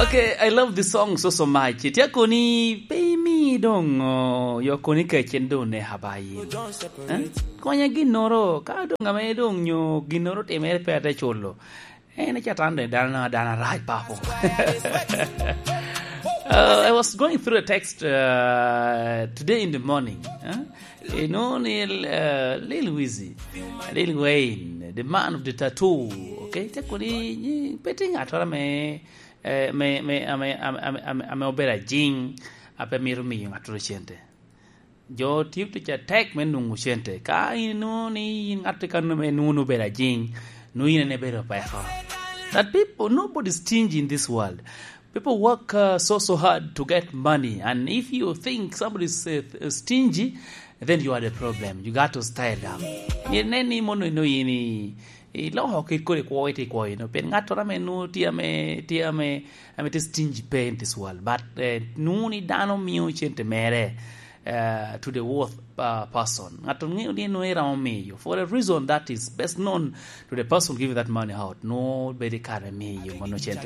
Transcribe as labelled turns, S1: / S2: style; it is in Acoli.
S1: Okay, I love this song so so much. Tye koni pe imi dong yo koni kec en dong neka ba in. Eh? Konya ginoro ka dong ame dong nyo ginoro timere pe ate culo. En catan dong dano dano rac papo. I was going through a text today in the morning. Eh? You know, Lil Weezy, Lil Wayne, the man of the tattoo. Okay, te kodi pe tye ngat ora me me me ame ame ame ame obedo ajing ape mito miyo ngat ora cente. Jo tiyo tic atek me nongo cente. Ka in inongo ni in ngat ka me nongo ni obedo ajing, nongo in ene ibedo peko. That people, nobody is stingy in this world. People work so so hard to get money and if you think somebody is stingy then you are the problem. You got to style up. Myero inen ni mono inongo in iloko kit kodi kwo itye kwo eno pien ngat ora me nongo tye ame tye ame ame tye stingy pe in this world but nongo ni dano miyo cente mere to the worth person. Ngat ongeyo ni nongo iromo miyo for a reason that is best known to the person giving that money out nongo bedo i kare me miyo mono cente.